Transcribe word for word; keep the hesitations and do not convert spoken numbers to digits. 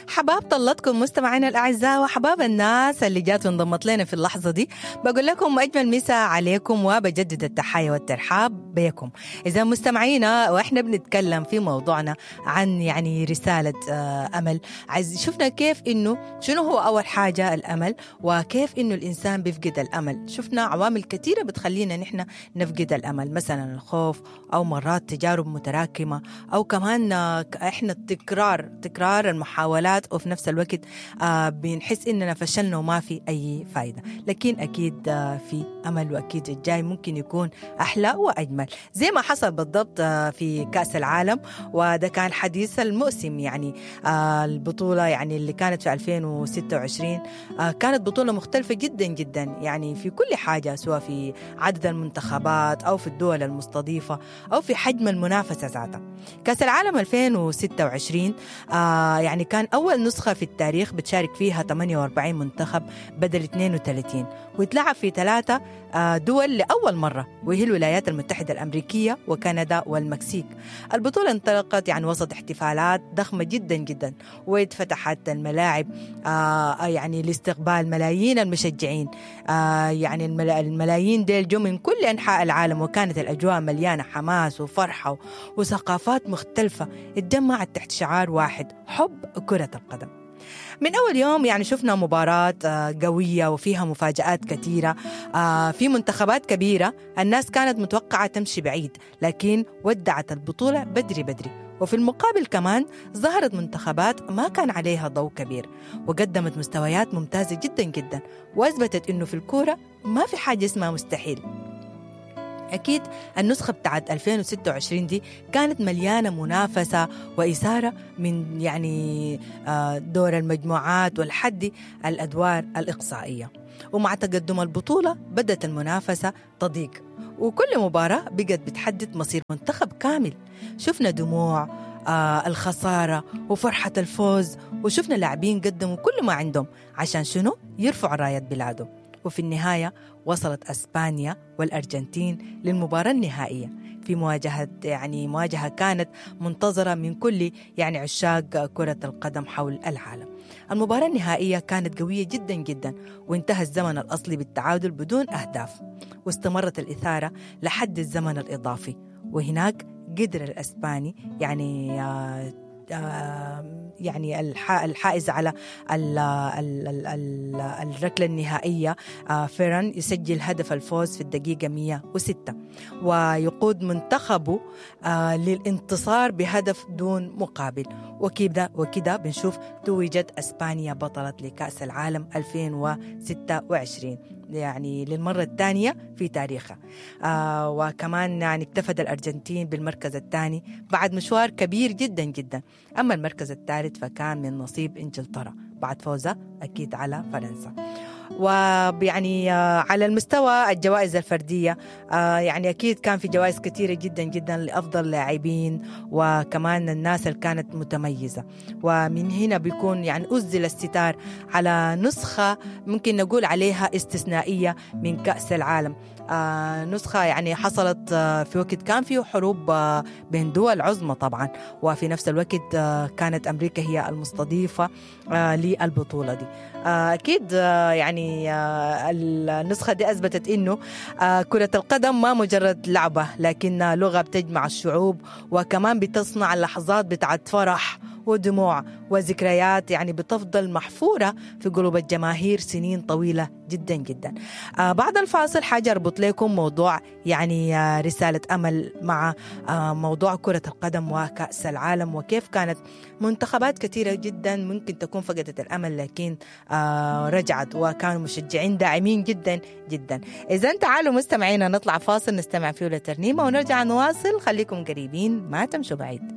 حباب طلتكم مستمعينا الأعزاء وحباب الناس اللي جات وانضمت لنا في اللحظة دي. بقول لكم أجمل مسا عليكم وبجدد التحية والترحاب بكم. إذا مستمعينا وإحنا بنتكلم في موضوعنا عن يعني رسالة أمل، عايز شفنا كيف إنه شنو هو أول حاجة الأمل، وكيف إنه الإنسان بيفقد الأمل. شفنا عوامل كثيرة بتخلينا نحن نفقد الأمل، مثلا الخوف أو مرات تجارب متراكمة، أو كمان إحنا التكرار تكرار المحاولات، وفي نفس الوقت آه بنحس إننا فشلنا وما في أي فايدة. لكن أكيد آه في أمل، وأكيد الجاي ممكن يكون أحلى وأجمل زي ما حصل بالضبط آه في كأس العالم. وده كان حديث الموسم، يعني آه البطولة يعني اللي كانت في ألفين وستة وعشرين آه كانت بطولة مختلفة جدا جدا، يعني في كل حاجة، سواء في عدد المنتخبات أو في الدول المستضيفة أو في حجم المنافسة ذاتها. كأس العالم ألفين وستة وعشرين آه يعني كان أول نسخة في التاريخ بتشارك فيها ثمانية وأربعين منتخب بدل اثنين وثلاثين، ويتلعب في ثلاثة دول لأول مرة، وهي الولايات المتحدة الأمريكية وكندا والمكسيك. البطولة انطلقت يعني وسط احتفالات ضخمة جدا جدا، واتفتحت الملاعب آه يعني لاستقبال ملايين المشجعين، آه يعني الملايين ديل جو من كل أنحاء العالم، وكانت الأجواء مليانة حماس وفرحة وثقافات مختلفة اتجمعت تحت شعار واحد: حب كرة القدم. من أول يوم يعني شفنا مباراة قوية وفيها مفاجآت كثيرة، في منتخبات كبيرة الناس كانت متوقعة تمشي بعيد، لكن ودعت البطولة بدري بدري. وفي المقابل كمان ظهرت منتخبات ما كان عليها ضوء كبير وقدمت مستويات ممتازة جدا جدا، وأثبتت إنه في الكورة ما في حاجة اسمها مستحيل. أكيد النسخة بتاعت ألفين وستة وعشرين دي كانت مليانة منافسة وإثارة من يعني دور المجموعات والحد الأدوار الإقصائية. ومع تقدم البطولة بدأت المنافسة تضيق، وكل مباراة بقت بتحدد مصير منتخب كامل. شفنا دموع آه الخسارة وفرحة الفوز، وشفنا لاعبين قدموا كل ما عندهم عشان شنو؟ يرفعوا راية بلادهم. وفي النهاية وصلت أسبانيا والأرجنتين للمباراة النهائية في مواجهة يعني مواجهة كانت منتظرة من كل يعني عشاق كرة القدم حول العالم. المباراة النهائية كانت قوية جدا جدا، وانتهى الزمن الأصلي بالتعادل بدون أهداف، واستمرت الإثارة لحد الزمن الإضافي. وهناك قدر الأسباني يعني آه يعني الحائز على الركلة النهائية فيران يسجل هدف الفوز في الدقيقة مئة وستة، ويقود منتخبه للانتصار بهدف دون مقابل. وكده وكده بنشوف توجت أسبانيا بطلة لكأس العالم ألفين وستة وعشرين يعني للمرة الثانية في تاريخها. آه وكمان يعني اكتفت الأرجنتين بالمركز الثاني بعد مشوار كبير جدا جدا. أما المركز الثالث فكان من نصيب إنجلترا بعد فوزها أكيد على فرنسا. ويعني على المستوى الجوائز الفردية يعني أكيد كان في جوائز كثيرة جدا جدا لأفضل لاعبين وكمان الناس اللي كانت متميزة. ومن هنا بيكون يعني أزل الستار على نسخة ممكن نقول عليها استثنائية من كأس العالم، نسخة يعني حصلت في وقت كان فيه حروب بين دول عظمى طبعا، وفي نفس الوقت كانت أمريكا هي المستضيفة للبطولة دي. أكيد يعني النسخة دي أثبتت إنه كرة القدم ما مجرد لعبة، لكنها لغة بتجمع الشعوب، وكمان بتصنع لحظات بتاعت فرح ودموع وذكريات يعني بتفضل محفورة في قلوب الجماهير سنين طويلة جدا جدا. آه بعد الفاصل حاجة أربط لكم موضوع يعني آه رسالة أمل مع آه موضوع كرة القدم وكأس العالم، وكيف كانت منتخبات كثيرة جدا ممكن تكون فقدت الأمل لكن آه رجعت، وكانوا مشجعين داعمين جدا جدا. إذا تعالوا مستمعينا نطلع فاصل نستمع فيه لترنيمة ونرجع نواصل، خليكم قريبين ما تمشوا بعيد.